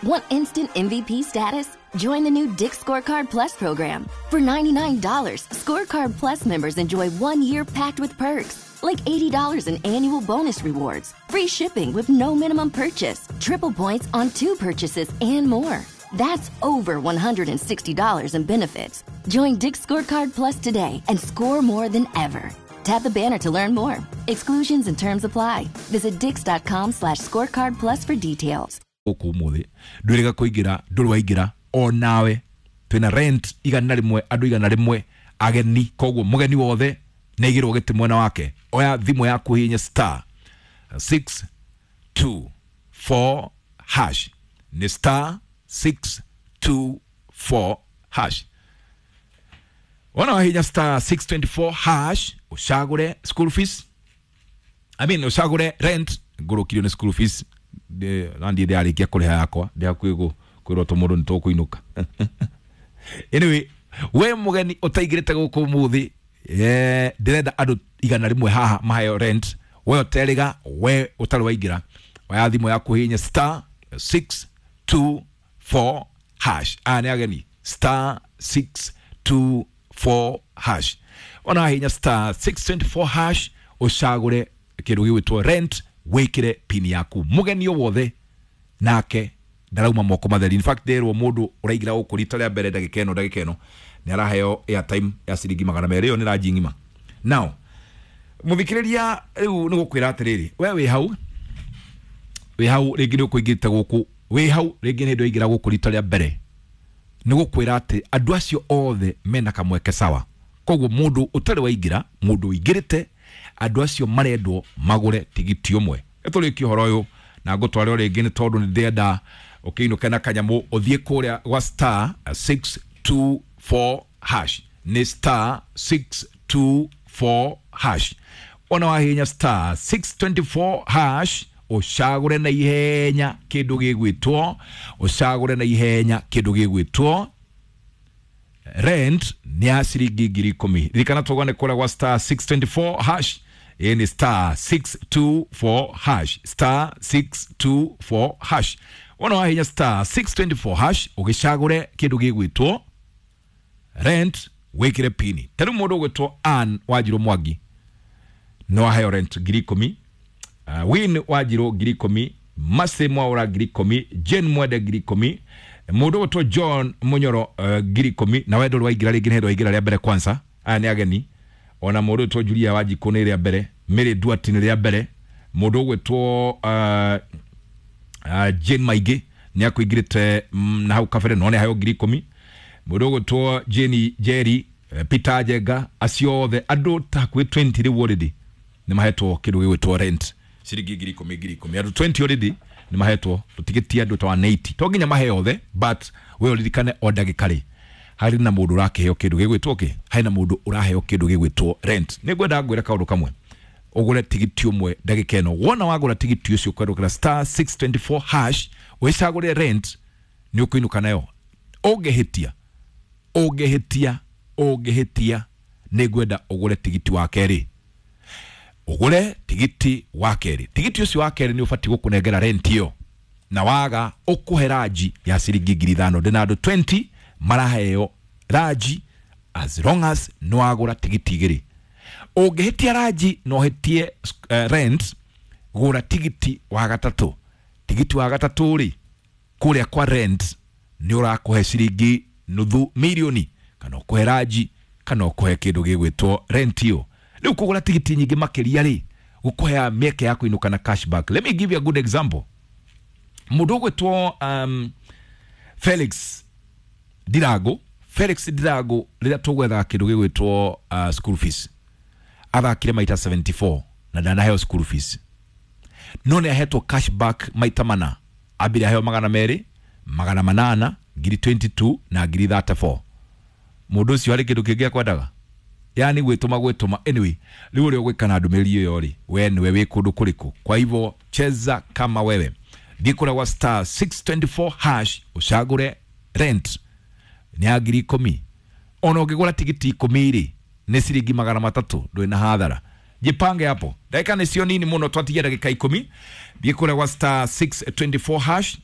Want instant MVP status? Join the new Dick's Scorecard Plus program. For $99, Scorecard Plus members enjoy 1 year packed with perks, like $80 in annual bonus rewards, free shipping with no minimum purchase, triple points on two purchases, and more. That's over $160 in benefits. Join Dick's Scorecard Plus today and score more than ever. Tap the banner to learn more. Exclusions and terms apply. Visit dicks.com/scorecard plus for details. Gũkũ ũmũthĩ ndwĩrĩga kũingĩra, ndũrĩ waingĩra onawe. Twĩna rent 100, andũ 100 ageni, koguo mũgeni wothe nĩ aigĩrwo gĩtĩ mwena wake. Oya thimũ yaku, hihinya *624#, nĩ *624#. Wona wahinya *624# ũcagũre school fees, I mean, ũcagũre rent. Ngũrũkirio nĩ school fees na ndiĩ ndĩrarĩkia kũrĩha yakwa, ndĩ hakuhĩ kwĩrwo tũmũndũ nĩ tũkũinũka. Anyway, we mũgeni ũtaingĩrĩte gũkũ ũmũthĩ, ndĩrenda andũ 100 haha maheo rent. We ũterĩga, we ũtarĩ waingĩra, oya thimũ yaku, hihinya *624#. Aya nĩ ageni. *624#. Ona wahihinya *624# ũcagũre kĩndũ gĩgwĩtwo rent, wĩkĩre pin yaku. Mũgeni o wothe nake ndarauma moko matheri. In fact, nderwo mũndũ ũraingĩra gũkũ rita rĩa mbere ndagĩka ĩno nĩ araheo airtime ya ciringi 200. Ĩyo nĩ ranji ng'ima. Now, mũthikĩrĩria, rĩu nĩ gũkwĩra atĩrĩrĩ, we wĩ hau, wĩ hau rĩngĩ nĩ ũkũingĩrĩte gũkũ, wĩ hau rĩngĩ nĩ hĩndĩ waingĩra gũkũ rita rĩa mbere, nĩ gũkwĩra atĩ andũ acio othe mena kamweke sawa. Koguo mũndũ ũtarĩ waingĩra, mũndũ ũingĩrĩte, andũ acio marendwo magũre tigiti ũmwe. Tũrĩkie ũhoro ũyũ na ngũtware o rĩngĩ, nĩ tondũ nĩ ndĩrenda ũkĩinũke na kanyamũ. Ũthiĩ kũrĩa gwa *624#, nĩ *624#. Ona wahihinya *624# ũcagũre na ihenya kĩndũ gĩgwĩtwo, ũcagũre na ihenya kĩndũ gĩgwĩtwo rent, nĩ ya ciringi 10,000. Ririkana tũgane kũrĩa gwa *624#. Ĩ nĩ *624#, *624#. Wona wahinya *624# ũgĩcagũre kĩndũ gĩgwĩtwo rent, wĩkĩre pini. Ta rĩu mũndũ ũgwĩtwo Ann Wanjirũ Mwangi no aheo rent 10,000, Win Wanjirũ 10,000, Mase Mwaũra 10,000, Jane Mwende 10,000, mũndũ ũgwĩtwo John Munyoro 10,000. Na we ndũrĩ waingĩra rĩngĩ, nĩ hĩndĩ waingĩra rĩa mbere kwanza. Aya nĩ ageni. Ona mũndũ ũgwĩtwo Julia Wanjikũ nĩ rĩa mbere, Mary Duarte nĩ rĩa mbere, mũndũ ũgwĩtwo Jane Maingĩ nĩ akũingĩrĩte na hau kabere no nĩ aheo 10,000, mũndũ ũgwĩtwo Jane Jerry, Peter Njenga, acio othe andũ ta hakuhĩ 20 rĩu already nĩ mahetwo kĩndũ gĩgwĩtwo rent, ciringi 10,000 10,000. Andũ 20 already nĩ mahetwo, tũtigĩtie andũ ta 180. To nginya maheo othe, but we ũririkane o ndagĩka rĩ harĩ na mũndũ ũrakĩheo kĩndũ gĩgwĩtwo kĩ, harĩ na mũndũ ũraheo kĩndũ gĩgwĩtwo rent. Nĩ ngwenda ngwĩre kaũndũ kamwe: ũgũre tigiti ũmwe ndagĩka ĩno. Wona wagũra tigiti ũcio kwerũkĩra *624# wĩcagũre rent, nĩ ũkũinũka nayo. Ũngĩhĩtia, ũngĩhĩtia, ũngĩhĩtia, nĩ ngwenda ũgũre tigiti wa kerĩ, ũgũre tigiti wa kerĩ. Tigiti ũcio wa kerĩ nĩ ũbatiĩ gũkũnengera rent ĩyo, na waga ũkũhe ranji ya ciringi 5,000. Ndĩna andũ 20 maraheo ranji as long as nĩ wagũra tigiti igĩrĩ. Ũngĩhĩtia ranji na ũhĩtie rent, gũra tigiti wa gatatũ. Tigiti wa gatatũ rĩ, kũrĩa kwa rent nĩ ũrakũhe ciringi nuthu mirioni, kana ũkũhe ranji, kana ũkũhe kĩndũ gĩgwĩtwo rent ĩyo. Rĩu kũgũra tigiti nyingĩ makĩria rĩ, gũkũhea mĩeke ya kũinũka na cashback. Let me give you a good example. Mũndũ ũgwĩtwo Felix Ndirango, Felix Ndirango, rĩrĩa tũgwethaga kĩndũ gĩgwĩtwo school fees, athakire maita 74 na ndanaheo school fees, no nĩ ahetwo cashback maita mana. Ambire aheo 200, 800, 22,000 na 34,000. Mũndũ ũcio harĩ kĩndũ kĩngĩ akwendaga, yani gwĩtũma gwĩtũma. Anyway, rĩu ũrĩa ũgwĩka na ndũmĩrĩri ĩyo rĩ, we nĩwe wĩ kũndũ kũrĩkũ? Kwa hivyo cheza kama wewe. Thiĩ kũrĩa gwa *624# ũcagũre rent, nĩ ya 10,000. Ona ũngĩgũra tigiti 10 rĩ, nĩ ciringi 300, ndũrĩ na hathara. Jipange hapo, ndagĩka nĩcio nini mũno, twatigia ndagĩka 10. Thiĩ kũrĩa gwa *624#.